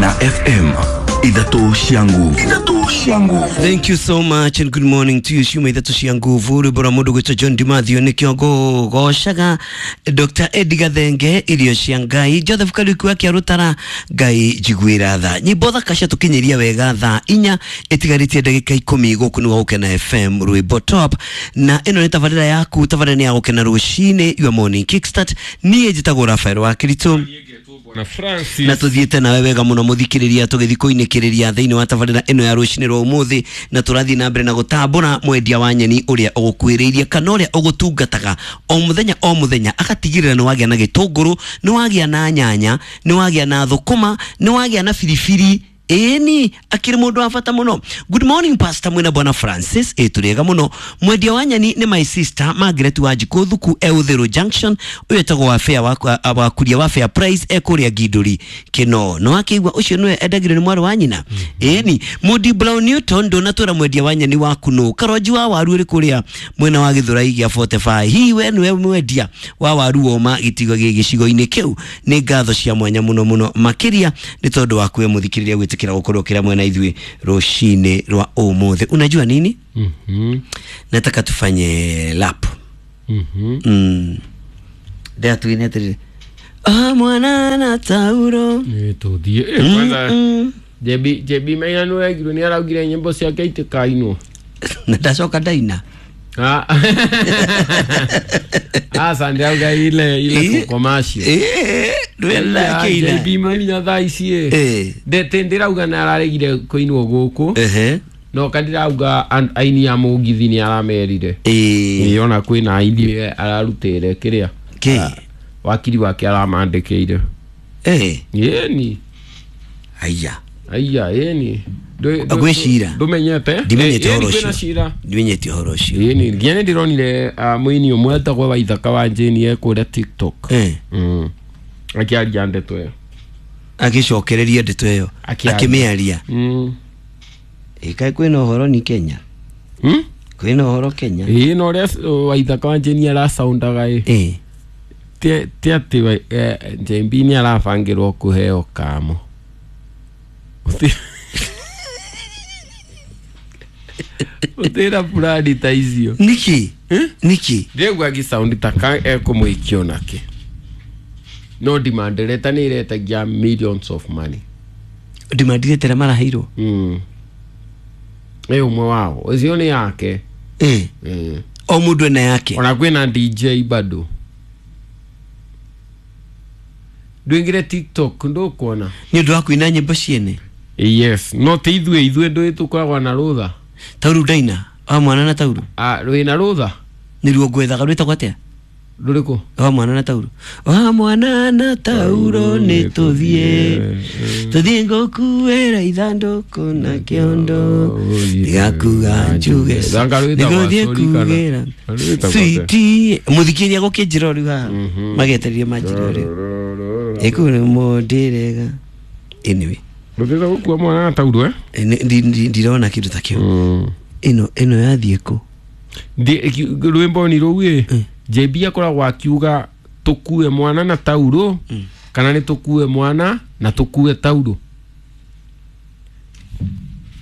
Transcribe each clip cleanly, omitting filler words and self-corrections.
Gukena FM ithatũ cia nguvu. Ithatũ cia nguvu. Thank you so much and good morning to you. Ciuma ithatũ cia nguvu rwĩmbo rwa mũndũ gwĩtwo John Dimathio nĩkĩo ngũgocaga Dr. Eddie Gathenge irio cia Ngai Joseph Kariuki wa Kĩarũtara Ngai njiguĩra tha nyĩmbo thaka ciatũkinyĩria wega thaa 4 ĩtigarĩtie ndagĩka 10 gũkũ nĩ Gũkena FM rwĩmbo top na ĩno nĩ tabarĩra yaku tabarĩra nĩ ya Gũkena rũcinĩ your morning kickstart niĩ njĩtagwo Rafael wa Kiritu na Francis na tuthiĩte nawe wega mũno mũthikĩrĩria tũgĩthiĩ kũinĩkĩrĩria thĩinĩ wa tabarĩra ĩno ya rũcinĩ rwa ũmũthĩ na tũrathiĩ na mbere na gũtambũra mwendia wa nyeni ũrĩa ũgũkuĩrĩirie kana ũrĩa ũgũtungataga o mũthenya o mũthenya agatigĩrĩra nĩ wagĩa na gĩtũngũrũ nĩ wagĩa na nyanya nĩ wagĩa na thũkũma nĩ wagĩa na biribiri ĩni akĩrĩ mũndũ wa bata mũno. Good morning pastor mwena bwana Francis ĩ tũrĩega mũno. Mwendia wa nyeni nĩ my sister Margaret Wanjikũ Thuku e Uthiru Junction ũyũ etagwo wa fair wa kuria wa fair price e kũrĩa Ngindũri Kĩno no akĩigua ũcio nĩwe endagĩrio nĩ mwarĩ wa nyina. Ĩni Moody Brown Newton ndũnatwĩra mwendia wa nyeni waku nũ Karonji wa waru ũrĩ kũrĩa mwena wa Gĩthũrai gĩa 45 hihi we nĩwe mwendia wa waru woma gĩtigo gĩcigo-inĩ kĩu nĩ ngatho cia mwanya mũno mũno makĩria nĩ tondũ wa kuwe mũthikĩrĩria gwĩtĩkĩra gukorwo kila mwena ithuĩ rũcinĩ rwa ũmũthĩ. Unajua nini? Nataka tufanye lap. Ndia tuine atĩrĩrĩ mwana na tauro tũthiĩ kwanza JB Maina nĩ wegirwo nĩ araugire nyĩmbo ciake itikainwo na ndacoka ndaina. Asa ndirauga ile commercial ndwela JB Maina thaa ici ndĩrauga nĩ araregire kũinwo gũkũ no kandirauga aini a mũgithi nĩ aramerire ona kwĩna aini ararutĩre kĩrĩa wakiri wake aramandĩkĩire ĩni aya aya ĩni gwĩ cira ndũmenyete ndimenyete ũhoro ũcio ndimenyete ũhoro ũcio ĩni nginya nĩ ndĩronire mũini ũmwe etagwo Waithaka wa Jane e kũrĩa TikTok akĩaria ndeto ĩyo agĩcokereria ndeto ĩyo akĩmĩaria ĩkaĩ kwĩna ũhoro ni Kenya kwĩna ũhoro Kenya ĩĩ na ũrĩa Waithaka wa Jane aracaundaga ĩ ti atĩ JB nĩ arabangĩrwo kũheo kamo utira purani ta icio niki niki ndĩraigua agĩsound ta ka ekũmũikio nake no demand letter nĩ ĩretagia millions of money demand letter maraheirwo ĩ ũmwe wao ũcio nĩ yake o mũndũ ena yake ona kwĩna DJ bado ndũingĩre TikTok ndũkuona nĩ ũndũ wa kũina nyĩmbo ciene yes no ti ithuĩ ithuĩ ndũĩ tũkoragwo na rũtha tauru ndaina wa mwana na tauru rwĩna rũtha nĩruo ngwethaga rwĩtagwo atĩa rũrĩkũ wa mwana na tauro wa mwana na tauro nĩ tũthiĩ tũthiĩ ngũkuĩra ithandũkũ na kĩondo ndigakuga njuge nĩgũthiĩ kugĩra switi mũthikĩria gũkĩnjĩra rĩu haha magetererie manjĩra rĩu ĩkũ nĩ mũndĩrega anyway rũtĩta gũkua mwana na tauro ndirona kĩndũ ta kĩu ĩno yathiĩ kũ rwĩmbo ni rũu ĩ JB akoragwo akiuga tũkue mwana na tauro kana nĩ tũkue mwana na tũkue tauro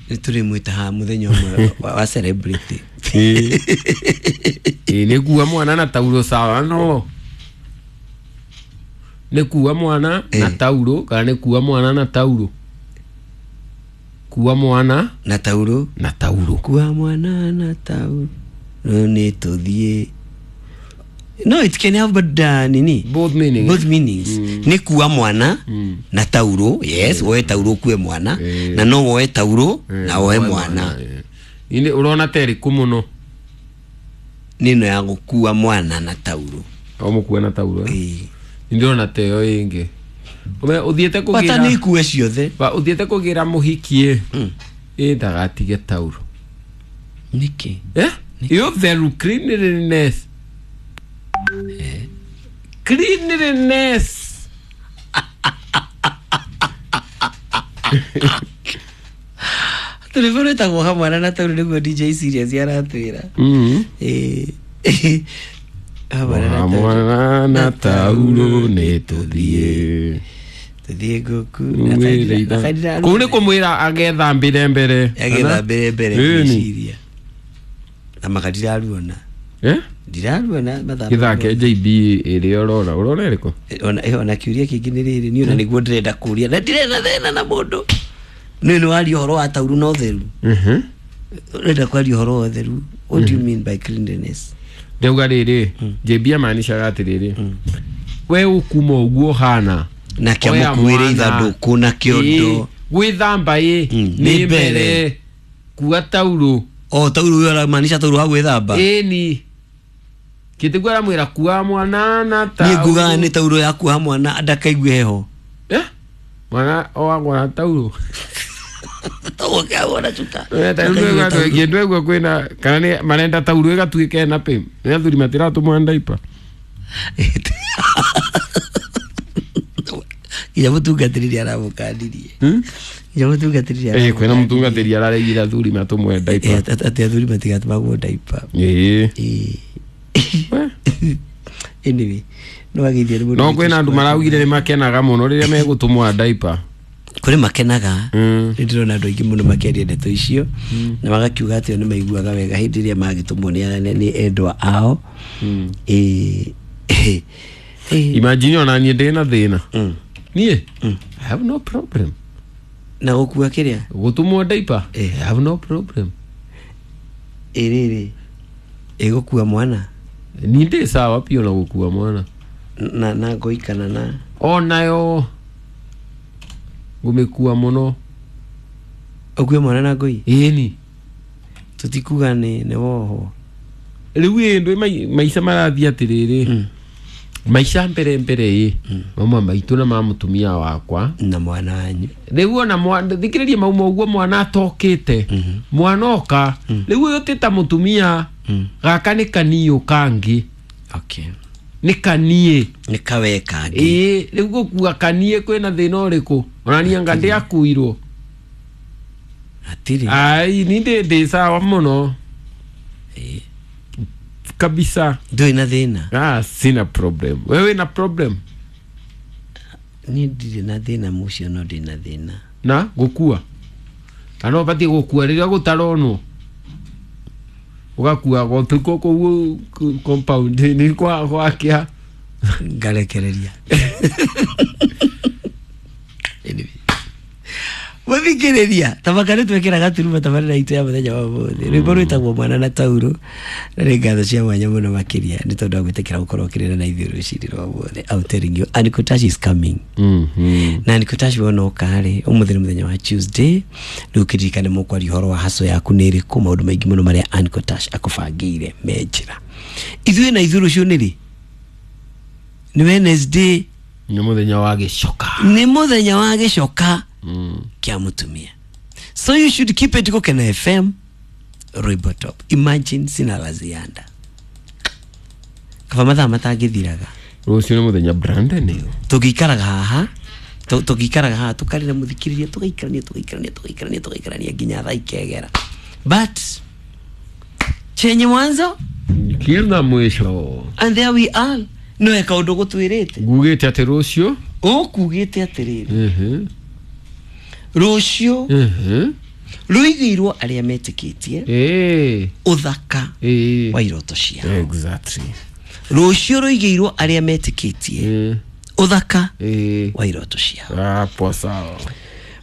nĩ tũrĩmwĩta haha mũthenya ũmwe wa celebrity nĩ kua mwana na tauro sawa no nĩ kua mwana na tauro kana nĩ kua mwana na tauro kua mwana na tauro na tauro kua mwana na tauro nĩ tũthiĩ no it can have but nini both meanings both meanings nĩ kua mwana na tauro yes woe tauro kue mwana na no woe tauro na woe mwana ini urona terĩkũ mũno nĩno ya gũkua mwana na tauro o mũkue na tauro ndĩrona teyo ĩngĩ ũthiĩte kũgĩra bata nĩ ikue ciothe ũthiĩte kũgĩra mũhiki ĩ ndagatige tauro nĩkĩ ĩyo theru cleanliness cleanliness tũrĩmbo rwĩtagwo hamwana na tauro nĩguo DJ Serious aratwĩra hamwana na tauro nĩ tũthiĩ Tuthiĩ ngũkũ. Kũu nĩ kũmwĩra agethambĩre mbere. Agethambĩre mbere ngwĩciria. Na maka ndiraruona. Ndiraruona mathamba. Gĩthake JB ĩrĩa ũrona. Ũrona ĩrĩkũ? Ona kĩũria kĩngĩ nĩ rĩrĩ niĩ ona nĩguo ndĩrenda kũria. Na ndirĩ na thĩna na mũndũ. Nĩ nĩ waria ũhoro wa tauru na ũtheru. Ũrenda kwaria ũhoro wa ũtheru. What do you mean by cleanliness? Ndauga rĩrĩ, JB amaanishaga atĩrĩrĩ. We ũkuma ũguo hana. Na kĩamũkuĩre ithandũkũ na kĩondo. Gwĩthamba ĩ nĩ mbere kua tauro. O tauro ũyũ aramaanisha tauro wa gwĩthamba. Ĩni. Kĩtĩguo aramwĩra kua mwana na tauro. Niĩ ngugaga nĩ tauro ya kuoha mwana ndakaigue heho. Mwana oagwo na tauro. Tũgũkĩagwo na cuka. Kĩndũ ĩguo kwĩna kana nĩ marenda tauro ĩgatuĩka ĩna pĩ. Nĩ athuri matiratũmwo ndaipa. Nginya mũtungatĩri aramũkanirie. Nginya mũtungatĩri kwĩna mũtungatĩri araregire athuri matũmwe ndaipa. Atĩ athuri matigatũmagwo ndaipa. Anyway, no agithie nĩ mũndũ. No kwĩna andũ maraugire nĩ makenaga mũno rĩrĩa megũtũmwo ndaipa. Kũrĩ makenaga. Nĩ ndĩrona andũ aingĩ mũno makĩaria ndeto icio na magakiuga atĩ nĩ maiguaga wega hĩndĩ ĩrĩa magĩtũmwo nĩ endwa ao. Imagine ona niĩ ndĩna thĩna. Niĩ I have no problem. Na gũkua kĩrĩa? Gũtũmwo ndaipa. I have no problem. Ĩrĩrĩ. Ĩgũkua mwana? Niĩ ndĩ sawa piũ na gũkua mwana. Na ngoi kana na onayo ngũmĩkua mũno. Ũkue mwana na ngoi? Ĩni. Tũtikuga nĩ woho. Rĩu ĩ ndũ maica marathiĩ atĩrĩrĩ. Maica mbere mbere ĩ mama maitũ na ma mũtumia wakwa na mwana wanyu. Rĩu ona thikĩrĩria mauma ũguo mwana atokĩte. Mwana oka rĩu ũyũ ti ta mũtumia gaka nĩ kaniũ kangĩ. Okay. Nĩ kaniĩ. Nĩ kawe kangĩ. Ĩĩ rĩu gũkua kaniĩ kwĩna thĩna ũrĩkũ? Ona niĩ anga ndĩakuirwo. Hatirĩ. Ai ni ndĩ sawa mũno. Kabisa. Ndũrĩ na thĩna? Sina problem. Wewe na problem? Niĩ ndirĩ na thĩna mũcio no ndĩ na thĩna. Na gũkua? Kana ũbatiĩ gũkua rĩrĩa gũtaronwo? Ũgakua gũtukũ kũu compound nĩ kwa gwakĩa. Ngarekereria. Anyway. Mũthikĩrĩria tabaka nĩ twekĩra gaturuma tabarĩra itũ ya mũthenya wa ũmũthĩ. Rwĩmbo rwĩtagwo mwana na tauro na nĩ ngatho cia mwanya mũno makĩria nĩ tondũ wa gwĩtĩkĩra gũkorwo ũkĩrĩra na ithuĩ rũcinĩ rwa ũmũthĩ. I'm telling you, Anikotash is coming. Na Anikotash wona ũka rĩ, ũmũthĩ nĩ mũthenya wa Tuesday, rĩu kĩririkane mũkwaria ũhoro wa haso yaku nĩ ĩrĩkũ, maũndũ maingĩ mũno marĩa Anikotash akũbangĩire me njĩra. Ithuĩ na ithuĩ rũciũ nĩ rĩ? Nĩ Wednesday. Nĩ mũthenya wa gĩcoka. Nĩ mũthenya wa gĩcoka. Kĩa mũtumia. So you should keep it Gũkena FM Rwĩmbo Top. Imagine sina la ziada. Kaba mathaa matangĩthiraga. Rũciũ nĩ mũthenya Brandon. Tũngĩikaraga haha, tũngĩikaraga haha tũkarĩra mũthikĩrĩria tũgaikarania tũgaikarania tũgaikarania tũgaikarania nginya thaa ikegera. But chenye mwanzo kila mwisho. And there we are. No kaũndũ gũtwĩrĩte. Ngugĩte atĩ rũciũ? Ũkugĩte atĩrĩrĩ. Rũciũ rũigĩirwo arĩa metĩkĩtie ũthaka wa iroto ciao. Exactly. Rũciũ rũigĩirwo arĩa metĩkĩtie ũthaka wa iroto ciao. Hapo sawa.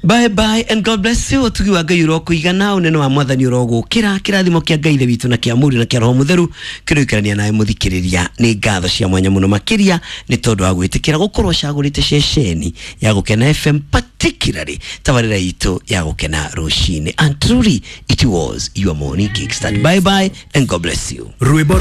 Bye bye and God bless you. Ũtugi wa Ngai ũrokũigana, ũnene wa Mwathani ũrogũkĩra, kĩrathimo kĩa Ngai Ithe witũ na kĩa Mũriũ na kĩa Roho Mũtheru kĩroikarania nawe mũthikĩrĩria. Nĩ ngatho cia mwanya mũno makĩria nĩ tondũ wa gwĩtĩkĩra gũkorwo ũcagũrĩte ceceni ya Gũkena FM, particularly tabarĩra itũ ya Gũkena rũcinĩ. And truly it was your morning kickstart. Bye bye and God bless you. Rwĩmbo.